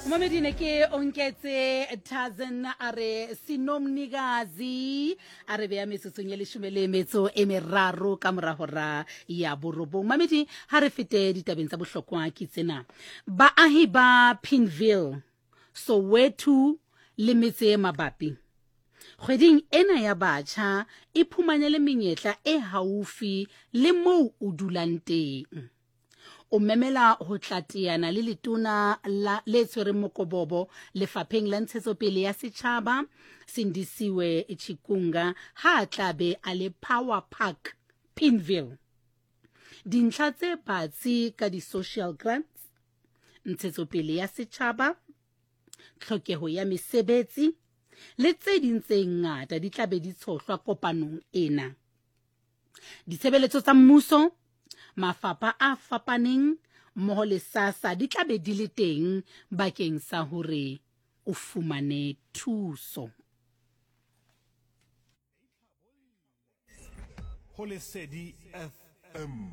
Momedi ne ke onketse Tarzan a re sinomnikazi a re beya metsotsong ye leshome le metso e meraro ka mora hora ya borobong. Mamedi ha re fete ditabeng tsa bohlokwa ke tsena. Baahi ba Pinville, Soweto le metse e mabapi kgweding ena ya batjha iphumanele menyetla e haufi le moo o dulang teng. O memela ho tla teana le letona la le tshwereng mokobobo lefapheng la ntshetsopele ya setjhaba Sindisiwe Chikunga ha a tla be a le Power Park Pinville. Dintlha tse batsi ka di-social grants, ntshetsopele ya setjhaba, tlhokeho ya mesebetsi le tse ding tse ngata di tla be di tshohlwa kopanong ena. Ditshebeletso tsa mmuso, mafapha a fapaneng mmoho le SASSA di tla be di le teng bakeng sa hore o fumane thuso. Ho Lesedi FM.